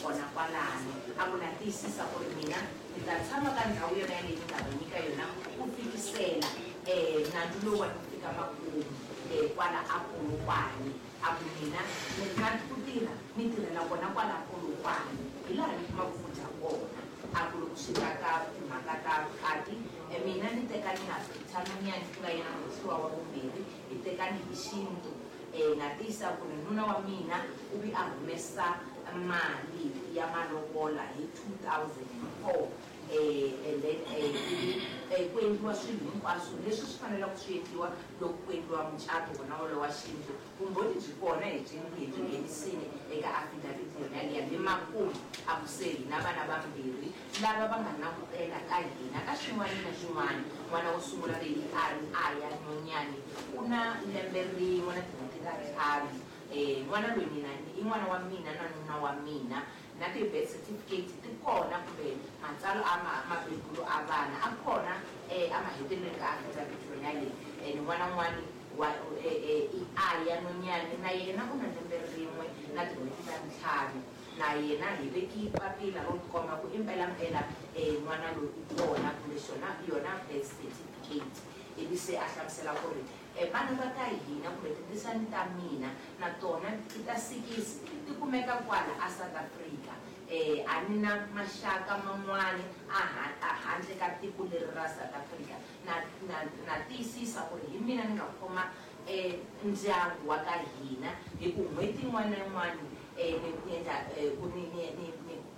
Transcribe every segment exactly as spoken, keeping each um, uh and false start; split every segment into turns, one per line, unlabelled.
kona kwalano a ku na tiyisisa ku ri mina ni ta tshama ka ndhawu yona yaleyi ni nga va nyika yona ku fikisela um nandzu lowuwani ku fika makumu um kwala a Polokwane a ku mina ni rhandzi ku tirha ni tirhela kona kwala Polokwane hi laha ni kumaka ku dya kona a ku loko swi ta ka timhaka ta vukati mina ni tekani na Peter Nonyane ku nga yena muhehliwa wa vumbirhi hi tekani hi xintu um na tiyisa ku ri nuna wa mina u vi a humesa mali ya malovola hi two thousand and four um and then um ku endliwa swilo hinkwaswo leswi swi faneleke swi endliwa loko ku endliwa mucato wona wolowo wa xintu vumbhoni byi kona hi byi hi byi nghenisile eka affidavit yona yaliya le makumu a ku se hina vana vambirhi lava va nga langutela ka hina ka xin'wana na xin'wana n'wana wo sungula leyi a ri Aya Nonyane u na lembe rin'we na tin'hweti ta ntlhanu um n'wana loyi mina i n'wana wa mina na nuna wa mina na ti-birth certificate ti kona kumbe matsalwa a ma mabebulo a vana a kona um a mahetelelweni ka affidavit yona leyi and n'wana n'wani wa i Aya Nonyane na yena u na lembe rin'we na tin'hweti ta ntlhanu na yena hi veki papila ro komba ku impelampela um n'wana loyi u kona kumbe xona yona birth certificate ivi se a hlamusela ku ri vana va ka hina kumbe tindzisani ta mina na tona ti ta sikisi ti kumeka kwala a South Africa um a ni na maxaka man'wani a handle ka tiko leri ra South Africa na na na tiyisisa ku ri hi mina ni nga khoma um ndyangu wa ka hina hi ku n'hweti yin'wana na yin'wana um ni endla ku ni ni ni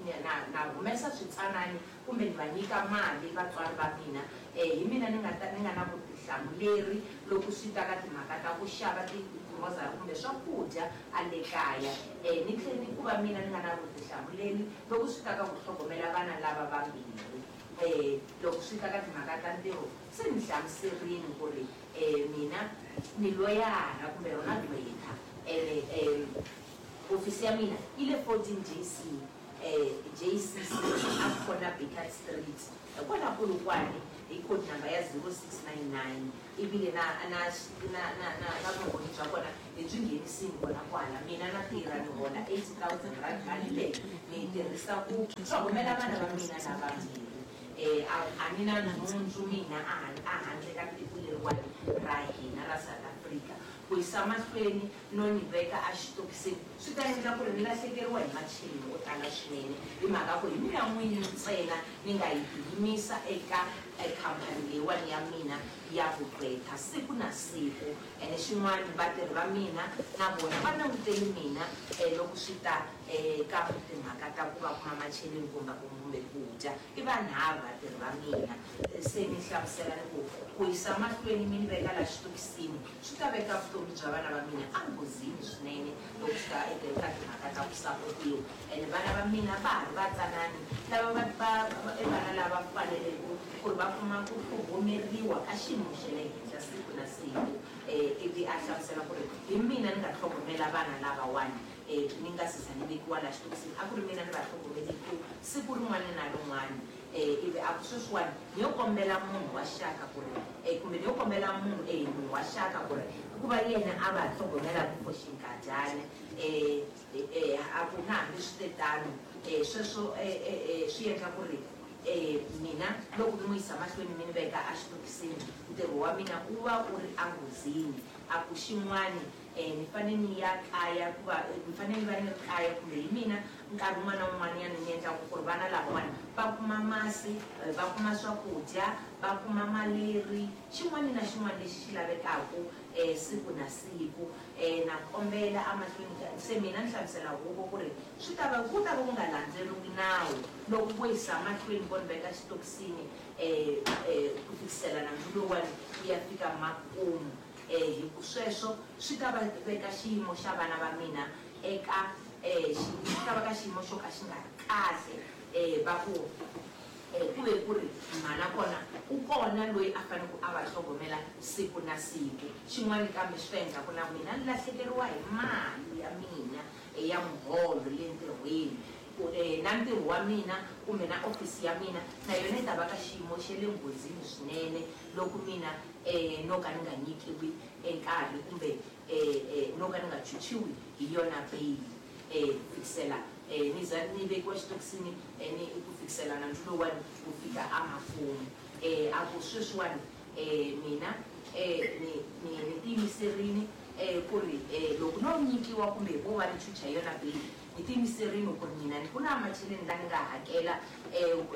ni na na humesa switsanani kumbe ni va nyika mali vatswari va mina um hi mina ni nga ta ni nga na vutihlamuleri loko swi ta ka timhaka ta ku xava ti-grocery kumbe swakudya a le kaya um ni tlhela ni ku va mina ni nga na vutihlamuleri loko swi ta ka ku tlhogomela vana lava vambirhi um loko swi ta ka timhaka ta ntirho se ni hlamuserini ku ri um mina ni loyara kumbe rona gqwetha ene um ofisi ya mina yi le fourteen J C um J C C a kona Baker Street kwala Polokwane hi code number ya zero six nine nine ivile na na na na na na vumbhoni bya kona hi byi nghenisini kona kwala mina na tirha ni hola eighty thousand rand mali leyi ni yi tirhisa ku tlhogomela vana va mina lavambirhi um a ni na nhundzu mina a handle ka tiko leriwani ra hina ra South Africa ku yisa mahlweni no ni veka a xitokisini swi ta endla ku ri ni lahlekeriwa hi macheleni yo tala swinene hi mhaka ku hi mina n'wini ntsena ni nga yi yimisa eka khampani leyiwani ya mina ya vugqwetha siku na siku ene xin'wana vatirhi va mina na vona va languteli mina um loko swi ta um ka timhaka ta ku va kuma macheleni kumbe kumbe ku dya i vanharhu vatirhi va mina se ni hlamusela ni ku ku yisa mahlweni mi ni veka la xitokisini swi ta veka vutomi bya vana va mina enghozini swinene loko swi ta eka timhaka ta ku sapotiwa ene vana va mina va ha ri vatsanani lava va va i vana lava faneleke ku ri va kuma ku tlhogomeriwa ka xiyimo xa le henhla siku na siku um ivi a hlamusela ku ri hi mina ni nga tlhogomela vana lavawani um ni nga se za ni vekiwa la xitokisini a ku ri mina ni va tlhogomeliku siku rin'wana na rin'wana um ivi a ku sweswiwani ni yo kombela munhu wa xaka ku ri um kumbe ni yo kombela munhu e munhu wa xaka ku ri ku va yena a va tlhogomelaka for xinkadyana um a ku na hambi switetano um sweswo swi endla ku ri um mina loko ni n'wi yisa mahlweni mi ni veka a xitokisini ntirho wa mina wu va wu ri enghozini a ku xin'wani um ni fanele ni ya kaya ku va ni fanele ni va ni ri kaya kumbe hi mina nkarhi wun'wana na wun'wanyana ni endlaku ku ri vana lavawani va kuma masi va kuma swakudya va kuma maleri xin'wana na xin'wana lexi xi lavekaka um siku na siku um na kombela emahlweni se mina ni hlamusela huvo ku ri swi ta va ku ta va ku nga landzeriwi nawu loko vo yisa mahlweni vo ni veka xitokisini um um ku fikisela nandzu lowuwani wu ya fika makumu um hi ku sweswo swi ta va veka xiyimo xa vana va mina eka um xi ta va ka xiyimo xo ka xi nga ri kahle um va ku ku ve ku ri mhana kona u kona loyi a faneleke a va tlhogomela siku na siku xin'wana kambe swi ta endla ku na mina ni lahlekeriwa hi mali ya mina ya muholo le ntirhweni na ntirho wa mina kumbe na ofisi ya mina na yona yi ta va ka xiyimo xa le nghozini swinene loko mina um no ka ni nga nyikiwi nkarhi kumbe um no ka ni nga chuchiwi hi yona bail um fikisela um ni za ni vekiwa xitokisini ni ku fikisela nandzu lowuwani ku fika emakumu. um A ku sweswiwani um mina um ni ni ni tiyimiserile um ku ri um loko no nyikiwa kumbe vo va ni chucha hi yona beyili, ni tiyimiserile ku ri mina ni ku na macheleni la ni nga hakela um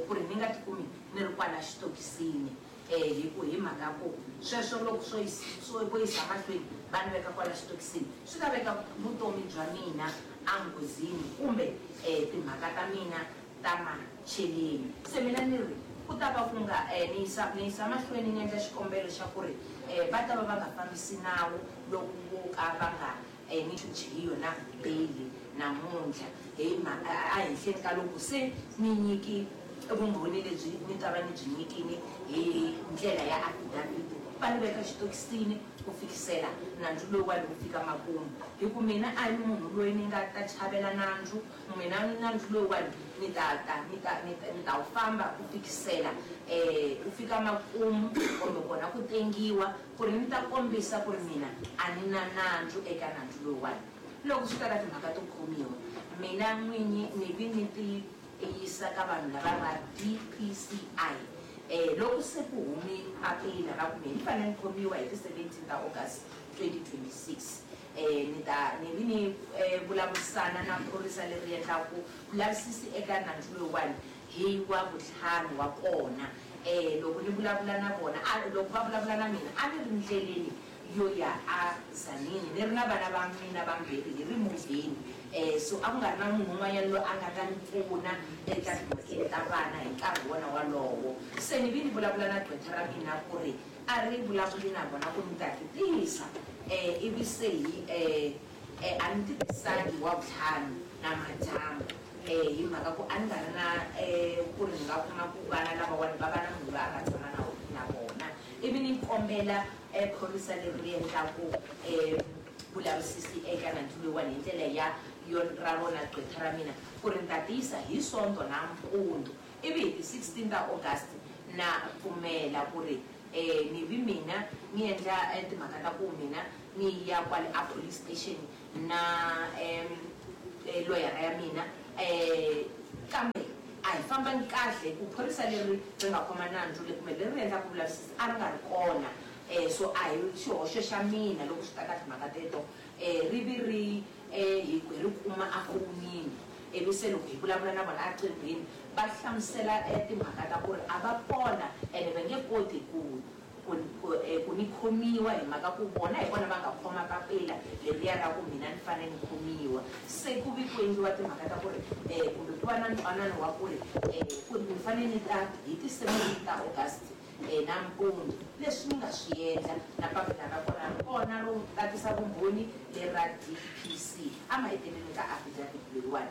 ku ri ni nga tikumi ni ri kwala xitokisini. um hi ku hi mhaka ku sweswo loko swo swo vo yisa mahlweni va ni veka kwala xitokisini swi ta veka vutomi bya mina enghozini kumbe um timhaka ta mina ta macheleni. Se mina ni ri ku ta va ku nga um ni yisa ni yisa mahlweni ni endla xikombelo xa ku ri um va ta va va nga fambisi nawu loko vo ka va nga um ni chuchi hi yona beyili namuntlha hi ehenhleni ka loko se ni nyiki vumbhoni lebyi ni ta va ni byi nyikini hi ndlela ya affidavit, va ni veka xitokisini ku fikisela nandzu lowuwani wu fika makumu. Hi ku mina a ni munhu loyi ni nga ta chavela nandzu, mina nandzu lowuwani ni ta ta ni ta ni ta ni ta wu famba ku fikisela um ku fika makumu kumbe kona ku tengiwa ku ri ni ta kombisa ku ri mina a ni na nandzu eka nandzu lowuwani. Loko swi ta ka timhaka to khomiwa, mina n'winyi ni vi ni ti yisa ka vanhu lava va D P C I. um Loko se ku humi papila ra ku mina ni fanele ni khomiwa hi ti seventeen ta August twenty twenty-six, um ni ta ni vi ni vulavurisana na phorisa leri endlaku vulavisisi eka nandzu lowuwani hi wa vutlhanu wa kona. um Loko ni vulavula na vona, loko va vulavula na mina a ni ri ndleleni yo ya a Zanini ni ri na vana va mina vambirhi hi ri movheni. um So a ku nga ri na munhu un'wanyana loyi a nga ta ni pfuna eka timhakeni ta vana hi nkarhi wona walowo. Se ni vi ni vulavula na gqwetha ra mina ku ri a ri vulavuli na vona ku ni ta ti tisa um ivi se hi um a ni ti tisangi wa vutlhanu na madyambu um hi mhaka ku a ni nga ri na um ku ri ni nga kuma ku vana lavawani va va na munhu loyi a nga tshama na na vona. Ivi ni kombela phorisa leri ri endlaku um vulavisisi eka nandzu lowuwani hi ndlela ya yo ra rona gqwetha ra mina ku ri ni ta tiyisa hi Sonto nampundzu. Ivi hi ti sixteen ta August na pfumela ku ri um ni vi mina ni endla timhaka ta ku mina ni ya kwale a police station na um loyara ya mina um kambe a hi fambangi kahle ku phorisa leri ri nga khoma nandzu le kumbe leri ri endlaka vulavisisi a ri nga ri kona. um So a hi xihoxo xa mina loko swi ta ka timhaka teto um ri vi ri um hi ri kuma efonini. Ivi se loko hi vulavula na vona eqinghweni va hlamusela timhaka ta ku ri a va kona ene va nge koti ku ku ku ni khomiwa hi mhaka ku vona hi vona va nga khoma papila leriya ra ku mina ni fanele ni khomiwa. Se ku vi ku endliwa timhaka ta ku ri um kumbe ku va na ntwanano wa ku ri um ku ni fanele ni ta hi ti seventeen ta August um nampundzu. Leswi ni nga swi endla na papila ra kona ri kona ro tatisa vumbhoni leri ra D P C emahetelelweni ka affidavit leyiwani.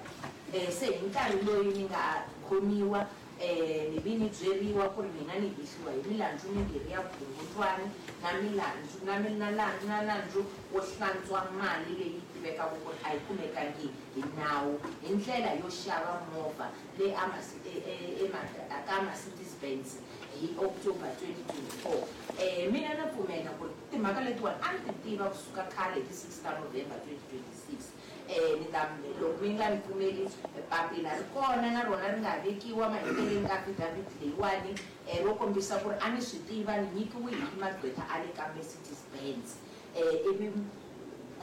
um Se hi nkarhi loyi ni nga khomiwa um ni vi ni byeriwa ku ri mina ni hehliwa hi milandzu mimbirhi ya vukungundzwani na milandzu na na na nandzu wo hlantswa mali leyi tivekaka ku ri a yi kumekangi hi nawu hi ndlela yo xava movha leyi ka Mercedes Benz hi October twenty twenty-four. um Mina na pfumela ku ri timhaka letiwani a ni ti tiva kusuka khale hi ti six ta November twenty twenty-six. um Ni ta loko mi nga ni pfumeli papila ri kona na rona ri nga vekiwa maheteleleni ka affidavit leyiwani um ro kombisa ku ri a ni swi tiva ni nyikiwe hi magqwetha a le ka Mercedes Benz. um Ivi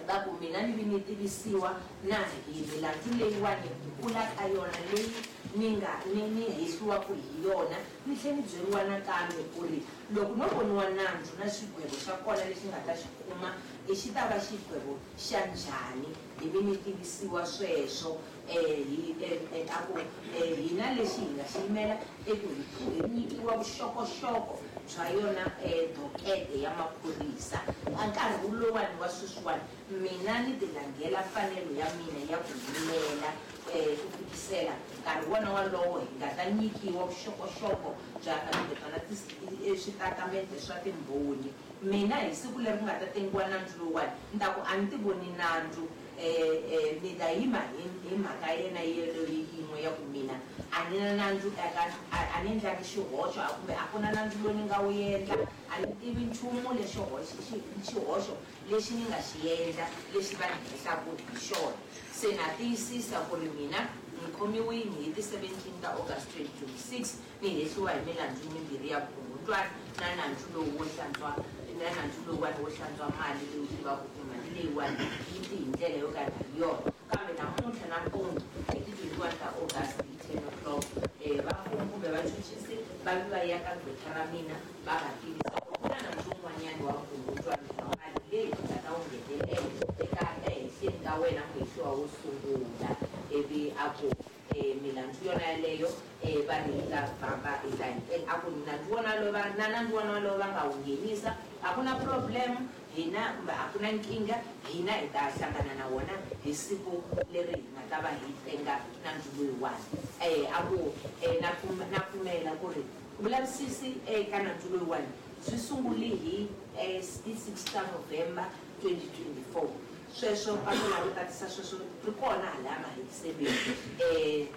va ku mina ni vi ni tivisiwa na hi milandzu leyiwani ku kula ka yona leyi ni nga ni ni hehliwaku hi yona, ni tlhela ni byeriwa nakambe ku ri loko no voniwa nandzu na xigwevo xa kona lexi nga ta xi kuma xi ta va xigwevo xa njhani. Hi vi ni tivisiwa sweswo um hi a ku hina lexi hi nga xi yimela i ku hi nyikiwa vuxokoxoko bya yona dokete ya maphorisa. A nkarhi lowuwani wa sweswiwani mina ni ti langhela mfanelo ya mina ya ku yimela um ku fikisela nkarhi wona walowo hi nga ta nyikiwa vuxokoxoko bya kumbe byona switatimende swa timbhoni. Mina hi siku leri ku nga ta tengiwa nandzu lowuwani ni ta ku a ni ti voni nandzu um ni ta yima hi mhaka yena yeleyo yin'we ya ku mina a ni na nandzu eka a ni endlangi xihoxo kumbe a ku na nandzu lowu ni nga wu endla a ni tivi nchumu lexi xihoxo lexi ni nga xi endla lexi va ni hehlaku hi xona se na tiyisisa ku ri mina ni khomiwile hi ti seventeen ta August twenty twenty-six ni hehliwa hi milandzu mimbirhi ya vukungundzwana na nandzu lowu wo hlantswa na nandzu lowuwani wo hlantswa mali leyi u tivaka ku mali leyiwani yi ti hi ndlela yo ka nga yona kambe namuntlha nampundzu hi ti twenty-one ta August hi ten o'clock um va mfumo kumbe vachuchisi va vi va ya ka gqwetha ra mina va va tivisa ku ku na nandzu wun'wanyana wa vukungundzwana bya mali leyi nga ta wu nghenelela eka ehenhleni ka wena muhehliwa wo sungula ivi a ku milandzu yona yeleyo um va ri hi ta famba hi ta a ku nandzu wona lowu va na nandzu wona lowu va nga wu nghenisa a ku na problem hina kumbe a ku na nkingha hina hi ta hlangana na wona hi siku leri hi nga ta va hi tenga nandzu loyiwani um a ku na na pfumela ku ri vulavisisi eka nandzu loyiwani byi sungule hi ti six ta November twenty twenty-four sweswo papila ro tatisa sweswo ri kona halaya mahetiselweni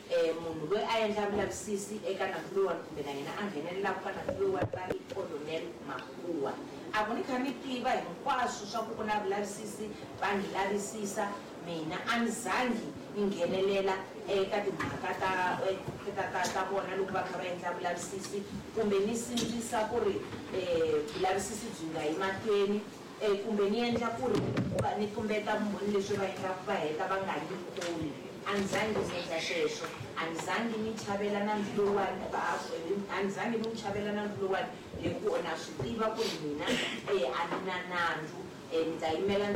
um munhu loyi a endla vulavisisi eka nandzu loyiwani kumbe na yena a nghenelelaka ka nandzu loyiwani va ri Colonel Makuwa a ku ni kha ni tiva hinkwaswo swa ku ku na vulavisisi va ni lavisisa mina a ni zangi ni nghenelela eka timhaka ta ta ta ta vona loko va kha va endla vulavisisi kumbe ni sindzisa ku ri um vulavisisi byi nga yi mahlweni um kumbe ni endla ku ri ni tumbeta vumbhoni leswi va endlaka va heta va nga ni khomi a ni zangi ni endla sweswo a ni zangi ni chavela nandzu lowuwani a ni zangi ni wu chavela nandzu lowuwani hi ku na swi tiva ku ri mina um a ni na nandzu um ni ta yimela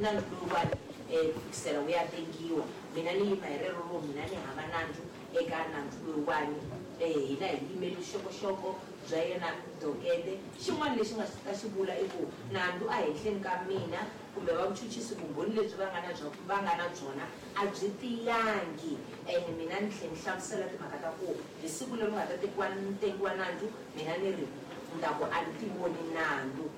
nandzu lowuwani um ku fikisela wu ya tengiwa mina ni yima hi rero ro mina ni hava nandzu eka nandzu lowuwani um hina hi yimele vuxokoxoko bya yena dokete xin'wana lexi nga ta xi vula i ku nandzu a henhleni ka mina kumbe va vuchuchisi vumbhoni lebyi va nga na va nga na byona a byi tiyangi ene mina ni tlhela ni hlamusela timhaka ta ku hi siku leri nga ta tekiwa tengiwa nandzu mina ni ri ni ta ku a ni ti voni nandzu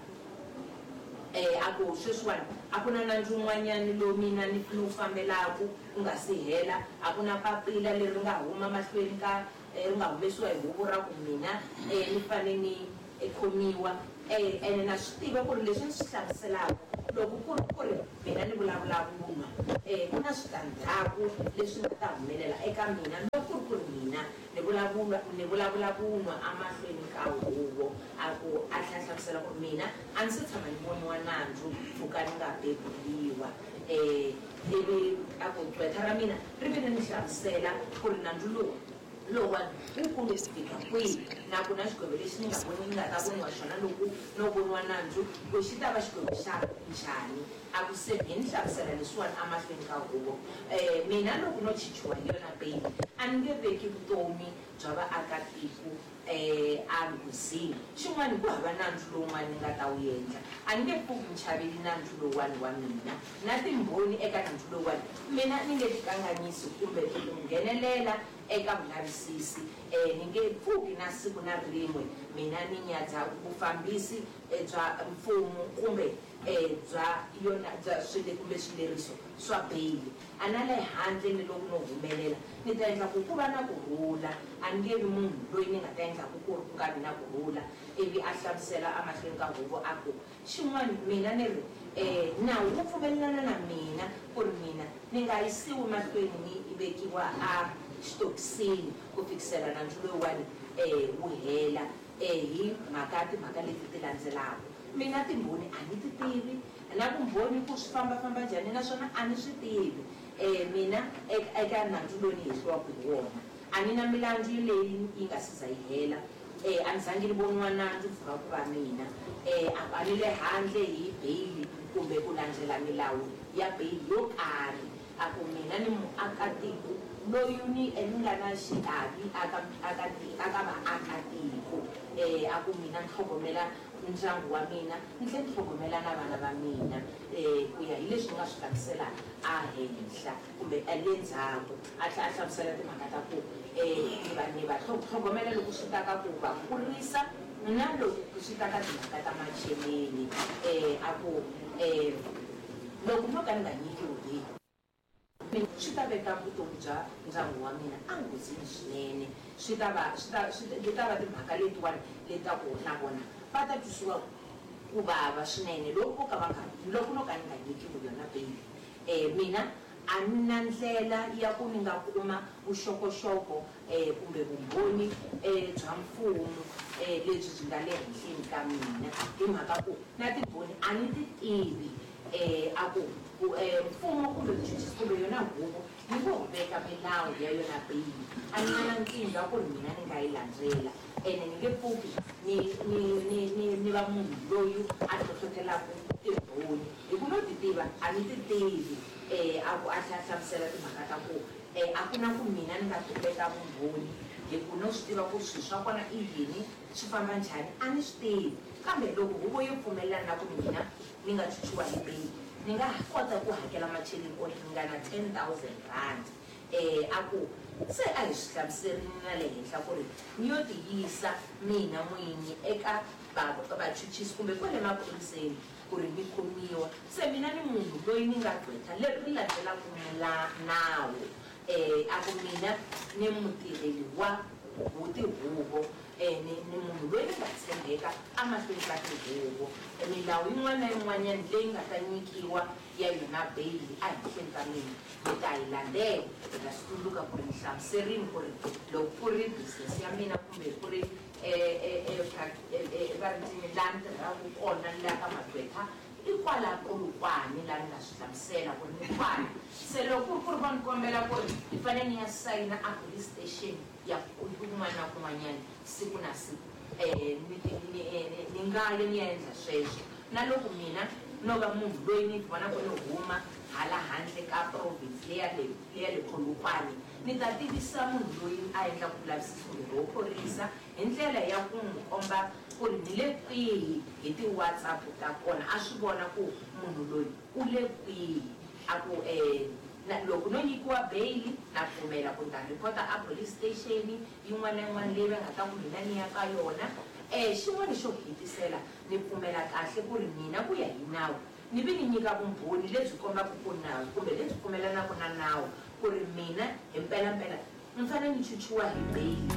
um a ku sweswiwani a ku na nandzu wun'wanyani lowu mina ni ni wu fambelaku ku nga si hela a ku na papila leri nga huma mahlweni ka ri nga humesiwa hi huvo ra ku mina um ni fane ni khomiwa um ene na swi tiva ku ri leswi ni swi hlamuselaka loko ku ri ku ri mina ni vulavula vunwa um ku na switandzhaku leswi nga ta humelela eka mina loko ku ri ku ri mina ni vulavula ni vulavula vunwa emahlweni ka huvo a ku a tlhela hlamusela ku ri mina a ndzi se tshama ni voniwa nandzu mpfhuka ni nga beburiwa um ivi a ku gqwetha ra mina ri vile ni hlamusela ku ri nandzu lowu lowuwani wu kulu ku fika kwihi na ku na xigwevo lexi ni nga voni ni nga ta voniwa xona loko no voniwa nandzu ku xi ta va xigwevo xa njhani a ku se hi ni hlamusela leswiwani emahlweni ka huvo um mina loko no chichiwa hi yona beyili a ni nge veki vutomi bya vaakatiko um enghozini xin'wana ku hava nandzu lowun'wana ni nga ta wu endla a ni nge pfuki ni chaveli nandzu lowuwani wa mina na timbhoni eka nandzu lowuwani mina ni nge tikanganyisi kumbe ku nghenelela eka vulavisisi um ni nge pfuki na siku na rin'we mina ni nyadza vufambisi bya mfumo kumbe um bya yona bya swile kumbe swileriso swa beyili a na le handle ni loko no humelela ni ta endla ku ku va na kurhula a ni nge vi munhu loyi ni nga ta endlaku ku ri ku nga vi na kurhula ivi a hlamusela emahlweni ka huvo a ku xin'wana mina ni ri um nawu wu pfumelelana na mina ku ri mina ni nga yisiwi mahlweni ni vekiwa a xitokisini ku fikisela nandzu lowuwani um wu hela um hi mhaka timhaka leti ti landzelaka mina timbhoni a ni ti tivi na vumbhoni ku swi fambafamba njhani naswona a ni swi tivi um mina eka nandzu lowu ni hehliwaka hi wona a ni na milandzu leyi yi nga si za yi hela um a ni zangi ni voniwa nandzu mpfhuka ku va mina um a ni le handle hi beyili kumbe ku landzela milawu ya beyili yo karhi a ku mina ni muakatiko loyi ni ni nga na xiavi aka aka aka vaakatiko um a ku mina ni tlhogomela ndyangu wa mina ni tlhela ni tlhogomela na vana va mina um ku ya hi leswi ni nga swi hlamusela a henhla kumbe le ndzhaku a tlhela a hlamusela timhaka ta ku um ni va ni va tlhogomela loko swi ta ka ku va kurisa na loko swi ta ka timhaka ta macheleni um a ku um Loko no ka ni nga nyikiwi beyili swi ta veka vutomi bya ndyangu wa mina enghozini swinene. Swi ta va swi ta swi ta va timhaka letiwani leti ku na vona va ta twisiwa ku vava swinene loko vo ka va nga loko no ka ni nga nyikiwi yona beyili. um Mina a ni na ndlela ya ku ni nga kuma vuxokoxoko um kumbe vumbhoni um bya mfumo um lebyi byi nga le henhleni ka mina, hi mhaka ku na timbhoni a ni ti tivi. um A ku mfumo kumbe vuchuchisi kumbe yona huvo yi ngo veka milawu ya yona beyili, a ni nga na nkingha ku ri mina ni nga yi landzela, ene ni nge pfuki ni ni ni ni ni va munhu loyi a hlohlotelaka timbhoni hi ku no ti tiva a ni ti tivi. um A ku a tlhela a hlamusela timhaka ta ku um a ku na ku mina ni nga tumbeta vumbhoni hi ku no swi tiva ku swilo swa kona i yini, swi famba njhani, a ni swi tivi. Kambe loko huvo yo pfumelelana na ku mina ni nga chuchiwa hi beyili, ni nga kota ku hakela macheleni o ringana ten thousand rand. um A ku se a hi swi hlamuserini na le henhla ku ri ni yo tiyisa mina n'winyi eka vachuchisi kumbe kwale maphoriseni ku ri ni khomiwa. Se mina ni munhu loyi ni nga gqwetha leri ri landzelaka nawu. um A ku mina ni mutirheli wa tihuvo, ni ni munhu loyi ni nga tshembeka emahlweni ka tihuvo. Milawu yin'wana na yin'wanyana leyi nga ta nyikiwa ya yona beyili ehenhleni ka mina ni ta yi landzela. Ni ta swi tsundzuka ku ri ni hlamuserini ku ri loko ku ri business ya mina kumbe ku ri va ri ncini laha ni tirhaka kona la ka magqwetha i kwala Polokwane laha ni nga swi hlamusela ku ri ni kwala. Se loko ku ri ku ri va ni kombela ku ri ni fanele ni ya sayina a police station ya kun'wana na kun'wanyana siku na siku, um ni ni nga ya ni ya endla sweswo. Na loko mina no va munhu loyi ni vonaka ni huma hala handle ka province leya le leya le Polokwane, ni ta tivisa munhu loyi a endlaka vulavisisi kumbe ro phorisa hi ndlela ya ku n'wi komba ku ri ni le kwihi hi ti-WhatsApp ta kona, a swi vona ku munhu loyi u le kwihi. A ku um loko no nyikiwa beyili na pfumela ku ni ta rhipota a police station yin'wana na yin'wana leyi va nga ta ku mina ni ya ka yona. um Xin'wana xo hetisela ni pfumela kahle ku ri mina ku ya hi nawu ni vi ni nyika vumbhoni lebyi kombaka ku nawu kumbe lebyi pfumelanaka na nawu ku ri mina hi mpelampela ni fanele ni chuchiwa hi beyili.